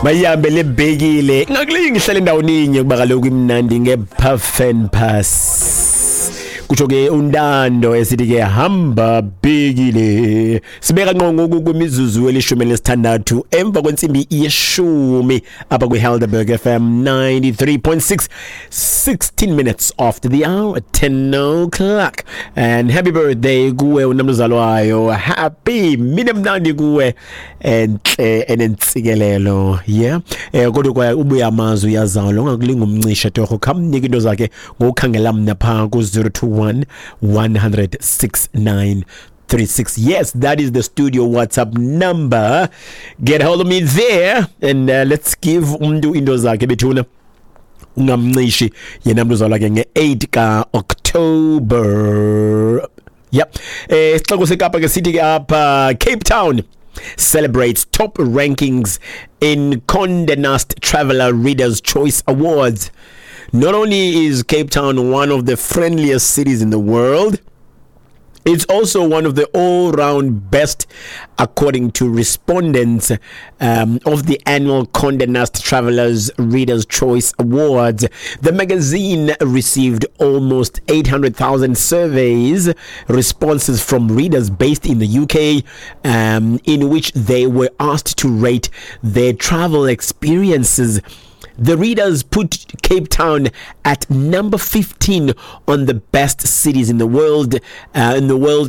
Mayihambe lebhekile, ingakulingi ihlale endawoninye kuba kaloku imnandi nge-puff and pass. Kutsho ke uNtando esithi ke hamba bhekile. Sibeka ngqo ngoku kwimizuzu eli-16 emva kwentsimbi yeshumi apha kwiHelderberg FM 93.6, 16 minutes after the hour, 10 o'clock. And happy birthday kuwe unamzalwayo, happy mini mnandi kuwe entle enentsikelelo. Yeah, kodwa kwaye ubuya amazwi uyazalwa, ungakulinga umncishe torho, khamnike into zakhe ngokukhangela mna phaa ku-021 100 69 36. Yes, that is the studio WhatsApp number. Get hold of me there and let's give umntu into zakhe bethuna. Ungamncishi yena mntu uzalwa ke nge-8 ka-October. Yep. Isixeko seKapa ke sithi ke apha, Cape Town celebrates top rankings in Condé Nast Traveler Readers' Choice Awards. Not only is Cape Town one of the friendliest cities in the world, it's also one of the all-round best, according to respondents of the annual Condé Nast Travelers Readers' Choice Awards. The magazine received almost 800,000 surveys responses from readers based in the UK, in which they were asked to rate their travel experiences. The readers put Cape Town at number 15 on the best cities in the world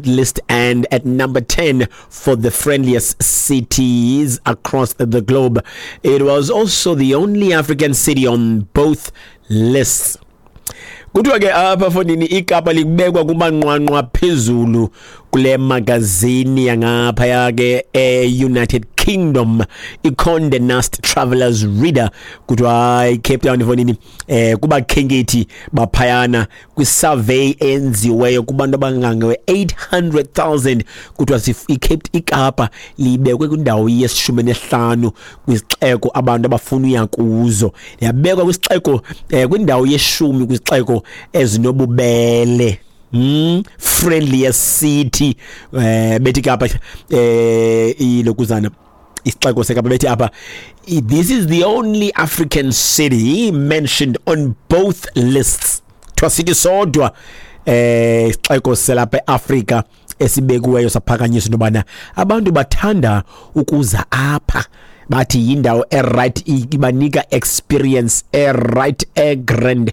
list, and at number 10 for the friendliest cities across the globe. It was also the only African city on both lists. Kuthiwa ke apha fonini iKapa likubekwa kumanqwanqwa phezulu kule magazini yangaphaya ke e-United Kingdom, iConde Nast Travelers Reader. Kuthiwa hayi, Cape Town fonini kubakhenkethi baphayana, kwisurvey enziweyo kubantu abangange 800,000, kuthiwa iCape, iKapa libekwe kwindawo yeshumi nesihlanu kwizixeko abantu abafuna uya kuzo, yabekwa kwisixeko kwindawo yeshumi kwizixeko ezinobubele, friendliest city. Bethi Kapa ilokuzana isixeko seKapa, bethi apha this is the only African city mentioned on both lists. Kuthiwa sithi sodwa isixeko selapha eAfrika esibekiweyo saphakanyiswa into yobana abantu bathanda ukuza apha, bathi yindawo eright, ibanika experience eright, egrand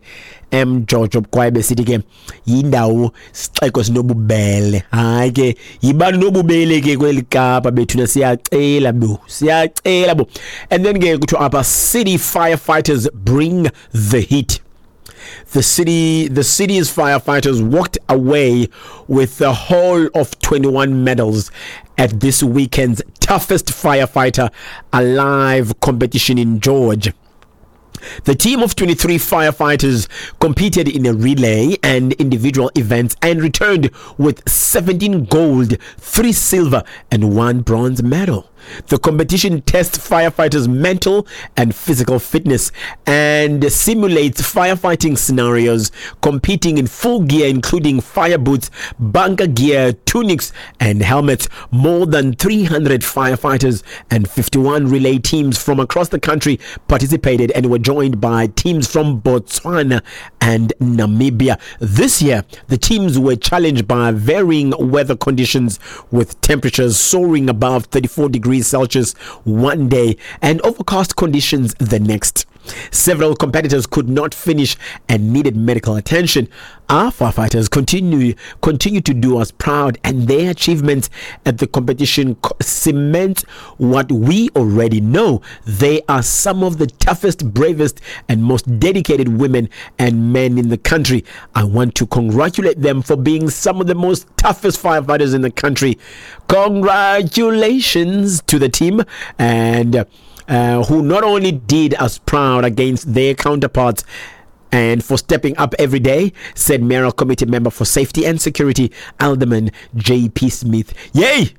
emjojo, kwaye besithi ke yindawo, sixeko sinobubele. Hayi ke, yibani nobubele ke kweli Kapa bethuna, siyacela bo, siyacela bo. And then ke kuthiwa apha, city firefighters bring the heat. The city's firefighters walked away with the whole of 21 medals at this weekend's Toughest Firefighter Alive competition in George. The team of 23 firefighters competed in a relay and individual events and returned with 17 gold, 3 silver, and 1 bronze medal. The competition tests firefighters' mental and physical fitness and simulates firefighting scenarios, competing in full gear, including fire boots, bunker gear, tunics, and helmets. More than 300 firefighters and 51 relay teams from across the country participated and were joined by teams from Botswana and Namibia. This year, the teams were challenged by varying weather conditions, with temperatures soaring above 34 degrees Celsius one day and overcast conditions the next. Several competitors could not finish and needed medical attention. Our firefighters continue to do us proud, and their achievements at the competition cement what we already know. They are some of the toughest, bravest, and most dedicated women and men in the country. I want to congratulate them for being some of the most toughest firefighters in the country. Congratulations to the team and who not only did us proud against their counterparts and for stepping up every day, said Mayoral Committee Member for Safety and Security, Alderman J.P. Smith. Yay!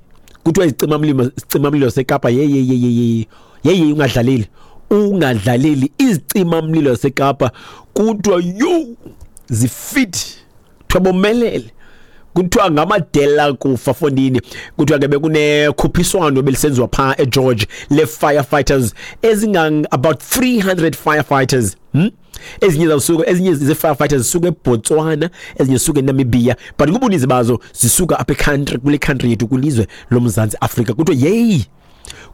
Kuthiwa izicimamlilo, isicimamlilo seKapa, ye ye ye ye ye ye ye, ungadlaleli, ungadlaleli izicimamlilo seKapa. Kuthiwa yo, zifit, kuthiwa bomelele. Kuthiwa ngamadela kufa fondini. Kuthiwa ke bekunekhuphiswano belisenziwa phaa eGeorge le-firefighters ezingang about 300 firefighters. Ezinye zawusuka, ezinye ze-firefighters zisuka eBotswana, ezinye zisuka eNamibia, but kubuninzi bazo zisuka apha e-country, kule country yethu, kwilizwe loMzantsi Afrika. Kuthiwa yeyi,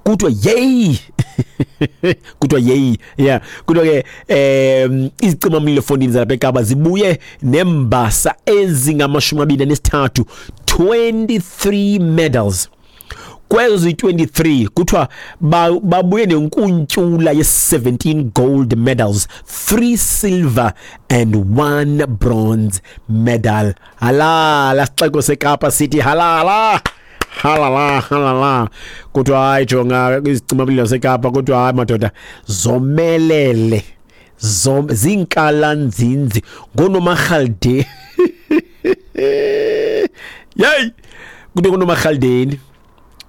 kuthiwa yeyi, kuthiwa yeyi, yeah. Kuthiwa ke izicimamlilo fondini zalapha eKapa zibuye nembasa ezingamashumi abini anesithathu, 23 medals. Kwezo zi-23 kuthiwa babuye nenkuntyula ye-17 gold medals, 3 silver and 1 bronze medal. Halala sixeko seKapa, sithi halala, halala, halala. Kuthiwa hayi, jonga izicimamlilo seKapa, kuthiwa hayi madoda, zomelele, zinkalanzinzi ngonomarhalde. Yeyi, kuthiwa ngonomarhaldeni.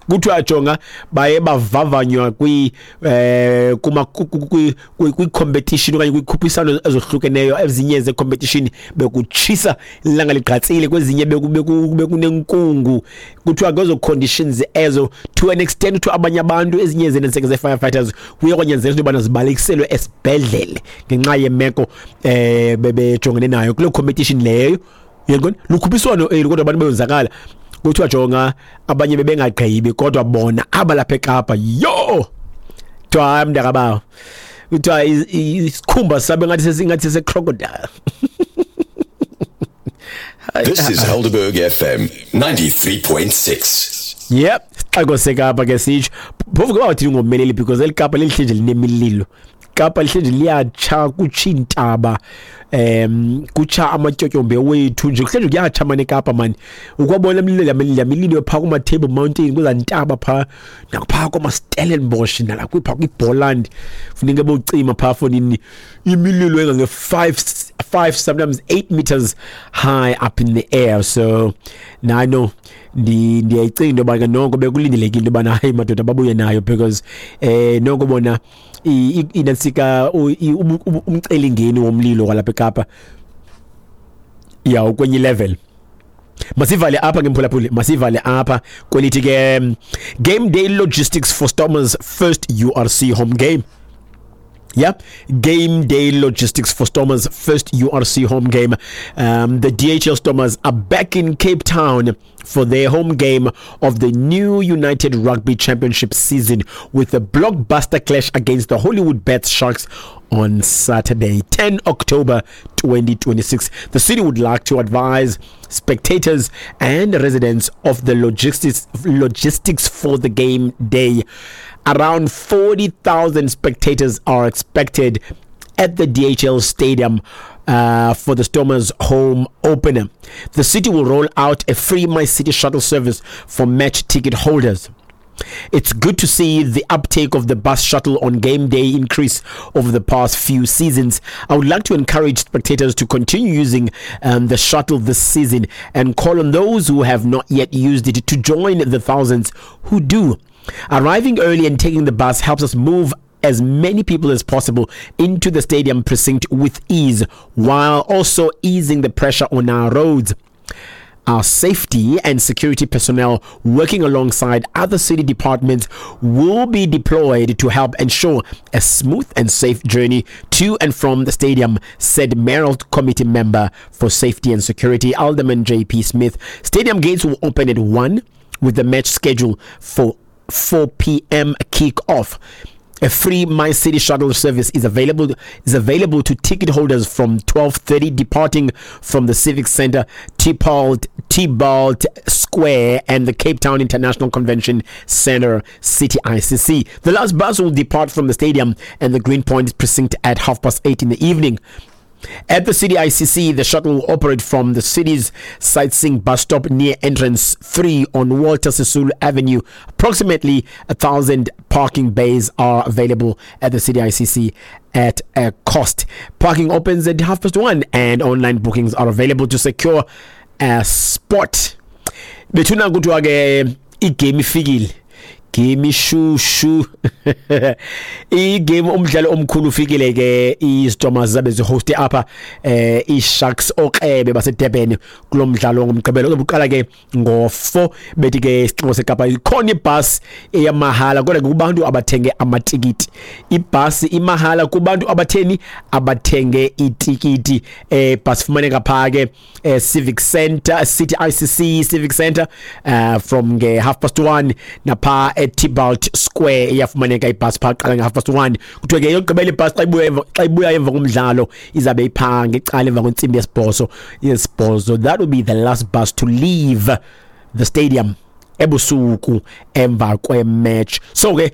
Kuthiwa jonga, baye bavavanywa kwi eh kuma kwi competition okanye kwikhuphiswano ezohlukeneyo. Ezinye ze competition bekutshisa, ilanga ligqatsile, kwezinye bekunenkungu. Kuthiwa kwezo conditions ezo, to an extent kuthiwa abanye abantu, ezinye zenenseke ze-firefighters, kuye kwanyanzeleka into yobana zibalekiselwe esibhedlele ngenxa yemeko bebejongene nayo kuloo competition leyo. Uyaqonda, lukhuphiswano eli, kodwa abantu beyonzakala. Kuthiwa jonga, abanye bebengagqibi, kodwa bona abalapha eKapa, yo, kuthiwa hayi mntakabawo, kuthiwa isikhumba sabe ngathi sesingathi sese-crocodile. This is Helderberg FM 93.6. Yep, sixeko seKapa ke sitsho. Phofu ke bawathini ngomeleli, because eli Kapa lelihle nje linemililo. Kapa lihle nje liyatsha, kutsha iintaba, kutsha amatyotyombe wethu nje, kuhle nje kuyatsha mani eKapa mani. Ukwabona imililo, lamililo phaa kuma-Table Mountain, kwezaa ntaba phaa, nakuphaa koomaStellenbosch, nalapha kwiBoland, funeka bocima phaa fonini imililo engange-5, 5, sometimes 8 meters high up in the air. So nano ndiyayicinga into yoba ke noko bekulindelekile into yobana hayi madoda babuye nayo, because noko bona inantsika umcelimngeni womlilo kwalapha eKapa yawo kwenye level. Masivale apha ke mphulaphuli, masivale apha kwelithi ke game day logistics for Stormers first URC home game. Yeah, game day logistics for Stormers first URC home game. The DHL Stormers are back in Cape Town for their home game of the new United Rugby Championship season with a blockbuster clash against the Hollywoodbets Sharks on Saturday, 10 October 2026. The city would like to advise spectators and residents of the logistics for the game day. Around 40,000 spectators are expected at the DHL Stadium for the Stormers home opener. The city will roll out a free MyCiTi shuttle service for match ticket holders. It's good to see the uptake of the bus shuttle on game day increase over the past few seasons. I would like to encourage spectators to continue using the shuttle this season and call on those who have not yet used it to join the thousands who do. Arriving early and taking the bus helps us move as many people as possible into the stadium precinct with ease, while also easing the pressure on our roads. Our safety and security personnel working alongside other city departments will be deployed to help ensure a smooth and safe journey to and from the stadium, said Mayoral Committee member for Safety and Security, Alderman JP Smith. Stadium gates will open at 1 with the match scheduled for 4 p.m. kick-off. A free MyCiTi shuttle service is available to ticket holders from 12:30, departing from the Civic Centre, Theobald Square and the Cape Town International Convention Centre, City ICC. The last bus will depart from the stadium and the Green Point precinct at 8:30 in the evening. At the City ICC, the shuttle will operate from the city's sightseeing bus stop near entrance 3 on Walter Sisulu Avenue. Approximately 1,000 parking bays are available at the City ICC at a cost. Parking opens at 1:30 and online bookings are available to secure a spot. Bethuna, kuthiwa ke igame ifikile. Game ishushu, igame, umdlalo omkhulu ufikile ke. IStormers zabe zihoste apha iSharks, okrebe baseDurban, kulo mdlalo ngomgqibelo uzobe uqala ke ngo-4. Bethi ke isixeko seKapa ikhona ibhasi eyamahala, kodwa ke kubantu abathenge amatikiti. Ibhasi imahala kubantu abatheni abathenge itikiti. Bhasi fumaneka phaa ke Civic Center, City ICC Civic Center, from nge 1:30, napha eTibalt Square iyafumaneka ibhasi phaa, qala nge 1:30. Kuthiwe ke yokugqibela ibhasi xa ibuya emva komdlalo izabe iphaa ngecala emva kwentsimbi yesibhozo. That will be the last bus to leave the stadium ebusuku emva kwematch. So ke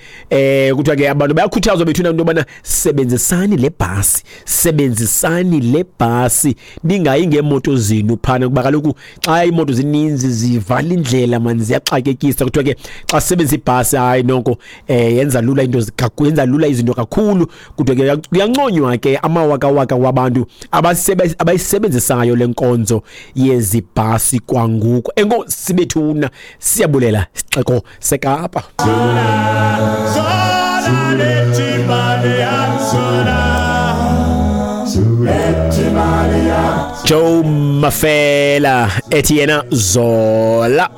kuthiwa ke abantu bayakhuthazwa bethuna into yobana sebenzisani le bhasi, sebenzisani le bhasi, ningayi ngeemoto zenu phana, kuba kaloku xa iimoto zininzi zivala indlela mani, ziyaxakekisa. Kuthiwa ke xa sisebenzisa ibhasi, hayi noko yenza lula into, yenza lula izinto kakhulu. Kuthiwa ke kuyanconywa ke amawakawaka wabantu abayisebenzisayo le nkonzo yezibhasi kwangoku. Enkosi bethuna, siyabulela sixeko seKapa. Zola leti Malia. Joe Mafela ethi yena Zola.